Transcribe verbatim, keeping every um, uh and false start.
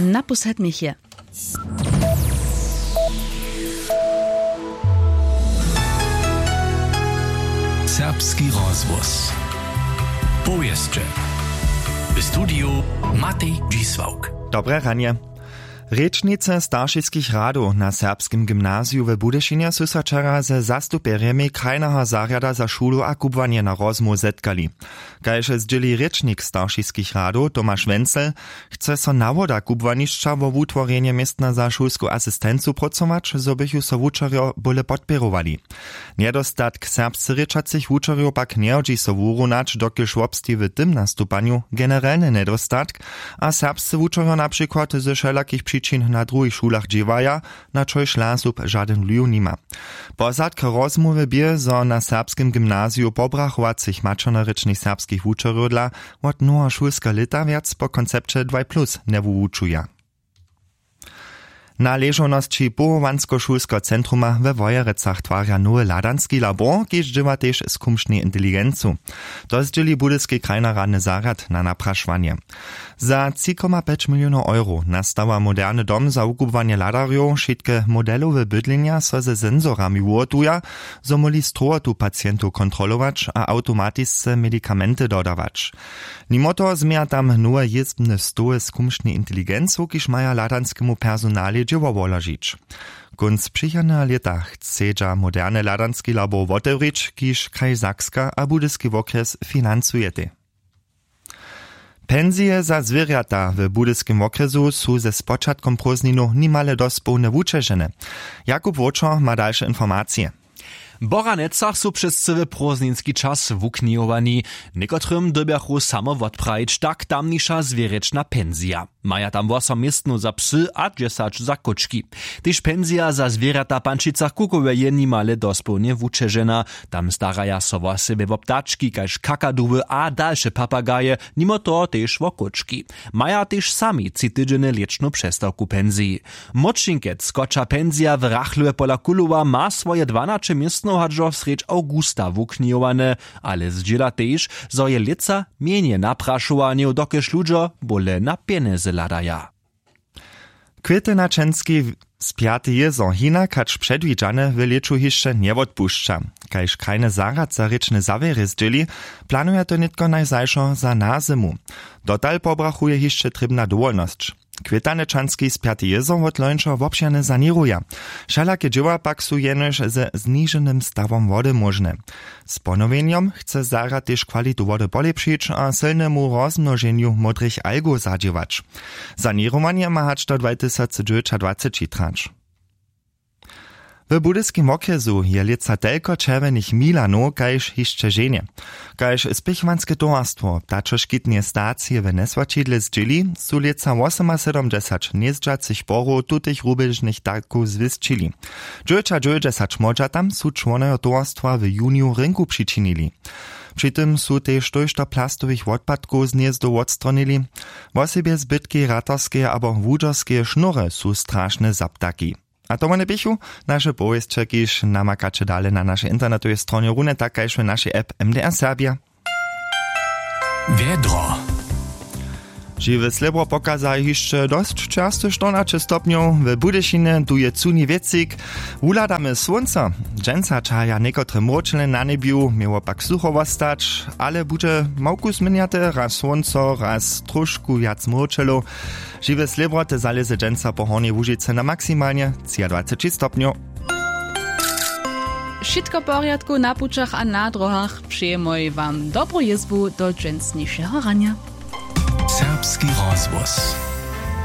Naposled měch je. Serbski rozhłos. Powěsće. W studiju Matej Dźisławk. Dobre ranje. Rěčnicy staršiskich radow na serbskim gymnaziju w Budyšinje su so wčera ze zastupjerjemi krajneho zarjada za šulu a kubłanje na rozmołw zetkali. Kaž zdźěli rěčnik staršiskich radow Tomaš Wenzel, chce so nawoda kubłanišća wo wutworjenje městna za šulsku asistencu prócować, zo bychu so wučerjo bóle podpěrowali. Njedostatk serbsce rěčacych wučerjow pak njehodźi so wuruwnać, dokelž wobsteji w tym nastupanju generelny njedostatk a serbsce wučerjo na přikład ze wšelakich přičin na druhich šulach dźěłaja, na čož LASUP žadyn wliw nima. Pozadk rozmołwy bě, zo na serbskim gymnaziju pobrachowacych maćernorěčnych serbskich wučerjow dla wot noweho šulskeho lěta wjac po koncepće dwaj plus njewuwučuja. Na ležownosći powołanskošulskeho centruma we Wojerecach twarja nowy hladanski labor, kiž dźěła tež z kumšnej inteligencu. To zdźěli budyski krajnoradny zarjad na naprašowanje. Za tři koma pjeć milionow euro nastawa moderny dom za wukubłanje hladarjow, wšitke modelowe bydlenja so ze sensorami wuhotuja, zo móhli strowotu pacientow kontrolować a awtomatisce medikamenty dodawać. Nimo toho změja tam nowe jězbne stoły z kumšnej inteligencu, kiž maja hladanskemu personalej dźěło woložić. Kónc přichodneho lěta chcedźa moderne hladanski labor wotewrić, kiž kraj Sakska a budyski wokrjes financujetej. Pensije za zwěrjata w budyskim wokrjesu su ze spočatkom prózdninow nimale dospołnje wućežene. Jakub Wočor ma dalše informacije. W Boranecach su přez cyły prózdninski čas wuknihowani. Někotrym dyrbjachu samo wotprajić tak tamniša zwěrječna pensija. Maja tam wosom městnow za psy a dźesać za kóčki. Tež pensija za zwěrjata w Pančicach Kukowej je nimale dospołnje wućežena. Tam staraja so wosebje wo ptački kaž kakaduwy a dalše papagaje, nimo toho tež wo kóčki. Maja tež sami tři tydźenje lěćnu přestawku w pensiji. Młódšinkec, kotřa pensija w Rachlowe pola Kulowa, ma swoje dwanaće městnow hač do srjedź awgusta wuknihowane, ale zdźěla tež, zo je lětsa mjenje naprašowanjow, dokelž ludźo bóle na pjenjezy hladaja. Kwěty na čenski spjaty jězo hinak hač předwidźane w lěću hišće njewotpušća. Kaž krajny zarjad za rěčne zawěry zdźěli, planuja to nětko najzašo za nazymu. Dotal pobrachuje hišće trěbna dowolnosć. Kwětanečanski spjaty jězo wot lońšeho wobšěrnje saněruja. Wšelake dźěła pak su jenož ze zniženym stawom wody móžne. Z ponowjenjom chce zarjad tež kwalitu wody polěpšić a sylnemu rozmnoženju módrych algow zadźěłać. Saněrowanje ma hač do dwatysacdźewjećadwaceći trać. W budyskim wokrjesu je lětsa telko čerwjenych milanow kaž hišće ženje. Kaž spěchowanske towarstwo ptačoškitneje stacije w njeswaćidle zdźěli, su lětsa wosomasydomdźesać hnězdźacych porow tutych rubježnych ptakow zwěsćili. Dźewjećadźewjećdźesać młodźa tam su čłonojo towarstwa w juniju rynku přičinili. Při tym su tež tójšto plastowych wotpadkow z hnězdow wotstronili, wosebje zbytki ratarskeje abo łudźerskeje šnóry su strašne za ptaki. A to wone běchu naše powěsće, kiž namakaće dale na našej internetowej stronje runje tak kaž w našej app M D R Serbja. Wjedro. Žiwe slěbro pokaza hišće dosć čerstych štyrnaće stopnjow, w Budyšinje tu je cuni wětřik. Wuhladamy słónco. Dźensa čahaja někotre mróčele na njebju, měło pak sucho wostać, ale budźe małku změnjate, raz słónco, raz trošku wjac mróčelow. Žiwe slěbro te zalěze dźensa po Hornjej Łužicy na maksimalnje třiadwaceći stopnjow. Wšitko w porjadku na pućach a na dróhach, přejemoj wam dobru jězbu do dźensnišeho ranja. Serbski rozhłos.